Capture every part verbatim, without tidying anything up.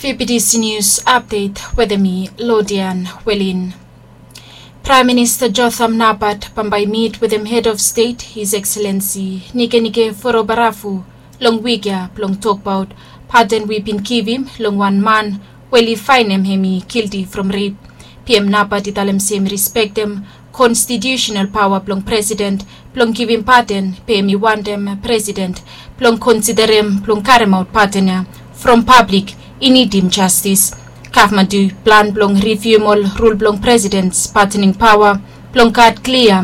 Fifty News Update wetem mi, Lodian Welin. Praem Minista Jotham Napat bambae i mit wetem Head of State, His Excellency Nikenike Vurobaravu, long wik ya blong tokbaot paden we i bin givim long wan man we oli faenem hemi gilti from rep. PM Napat i talem se hemi rispektem konstitiusenal paoa blong presiden blong givim paden, be hemi wantem presiden blong konsiderem blong karemaot paden ya from pablik i nidim jastis. Gavman tu i plan blong rivium ol rul blong presidens padening paoa blong gat klia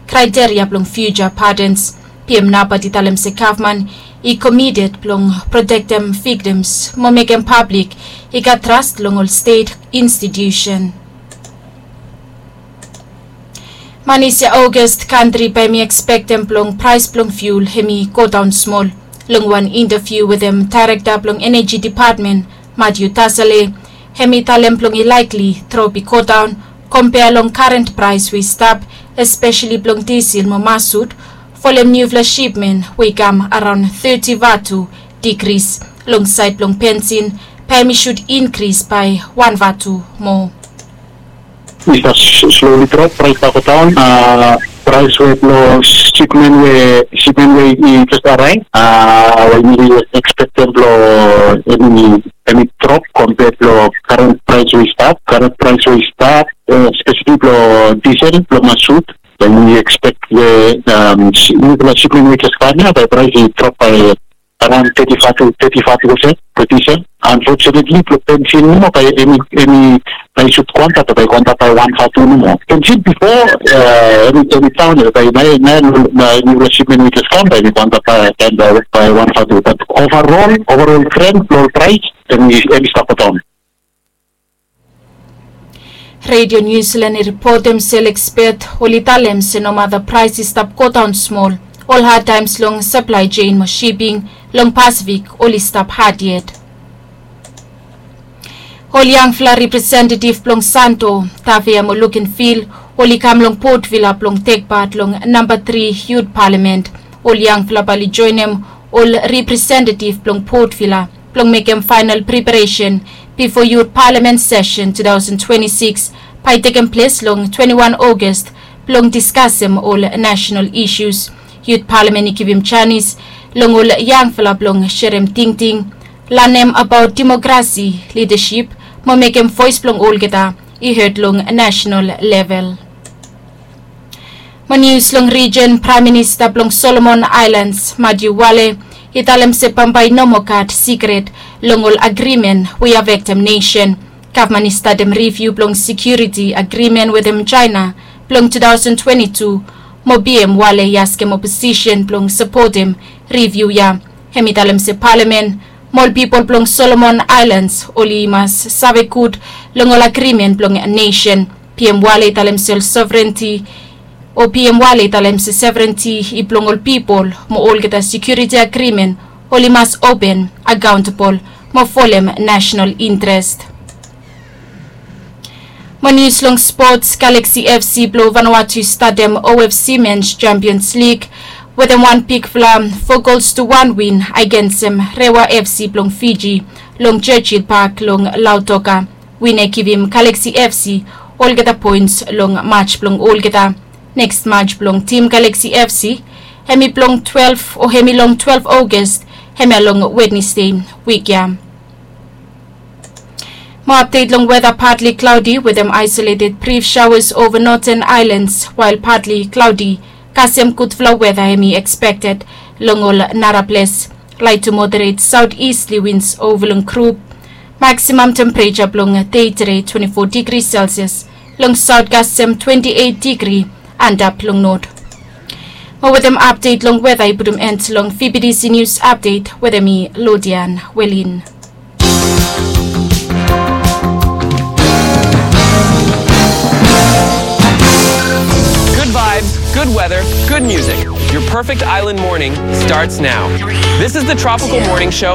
kraeteria blong fiuja padens. PM Napat i talem se gavman i komited blong protektem viktims mo mekem pablik i gat tras long ol stet institiusen. Manis ya Ogast, kantri bae hemi ekspektem blong praes blong fiul hemi godaon smol. Long wan intaviu wetem daerekta blong eneji depatmen, Matiu Tasale, hemi talem blong i laekli drop i godaon kompea long karen praes we i stap, espeseli blong disil mo masut, folem niufala sipmen we i kam araon teti vatu digris. Long saed blong bensin bae hemi sud inkris bae wan vatu moa. I stap sloli drop, praes i stap godaon. Praes we blong sipmen we, sipmen we i jes araev, we yumi ekspektem blong hemi, hemi drop kompea blong karen praes we i stap, karen praes we i stap, espeseli blong disil, blong masut. Bae yumi ekspek we niufala sipmen we i jes kam ya, bae praes i drop bae araon teti vatu, teti vatu olsem blong disil. Unfortunately blong bensin nomo bae hemi, hemi bae i sud go antap, bae i go antap bae wan vatu nomo. Bensin bifo hemi, hemi daon ya, bae naoia, naoia niufala sipmen we i jes kam bae hemi go antap bae, bae wan vatu. Bat overall, overall trend blong ol praes hemi, hemi stap godaon. Redio Niu Silan i ripotem se ol ekspet oli talem se nomata praes i stap godaon smol, ol hadtaems long saplae jein mo siping long Pasifik oli stap had yet. Ol yangfala representetiv blong Santo, Tavia mo Lukenvil oli kam long Port Vila blong tekpat long namba tri Yut Palamen. Ol yangfala bae oli joenem ol representetiv blong Port Vila blong mekem faenol preparesen bifo Yut Palamen sesen tu taosen twenti sikis bae i tekem ples long twenti wan Ogast blong diskasem ol nasenal isus. Yut Palamen i givim janis long ol yangfala blong serem tingting, lanem abaot demokrasi, lidasip mo mekem voes blong olgeta i hed long nasenal level. Mo nius long rijen, Praem Minista blong Solomon Aelans, Matiu Wale, i talem se bambae i no moa gat sikret long ol agrimen we i afektem nesen. Gavman i statem riviu blong sekiuriti agrimen wetem Jaena blong tu taosen twenti tu, mo PM Wale i askem oposisen blong sapotem riviu ya. Hemi talem se Palamen mo ol pipol blong Solomon Aelans oli mas save gud long ol agrimen blong nesen. PM Wale i talem se ol sovrenti, o PM Wale i talem se sovrenti i blong ol pipol, mo olgeta sekiuriti agrimen oli mas open, akaontebol mo folem nasenal intres. Mo nius long spots, Galaxy FC blong Vanuatu i statem OFC Men's Champions League wetem wan bigfala fo gols tu wan win agensem Rewa FC blong Fiji long Churchill Park long Lautoka. Win ya i givim Galaxy FC olgeta poens long maj blong olgeta. Neks maj blong Tim Galaxy FC hemi blong twelef, o hemi long twelef Ogast, hemia long Wednesde wik ya. Mo apdet long weta, partly cloudy wetem isolated brief showers over northern islands, while partly cloudy, kasem gudfala weta hemi expected long ol nara ples. Light to moderate southeasterly winds over long group. Maximum temperature blong dei tede twenti fo degree Celsius, long south kasem twenti eit degree, antap long north. Mo wetem apdet long weta i putum end long VBTC News Update wetem mi, Lodian Welin. Good vibes, good weather, good music. Your perfect island morning starts now. This is the Tropical Morning Show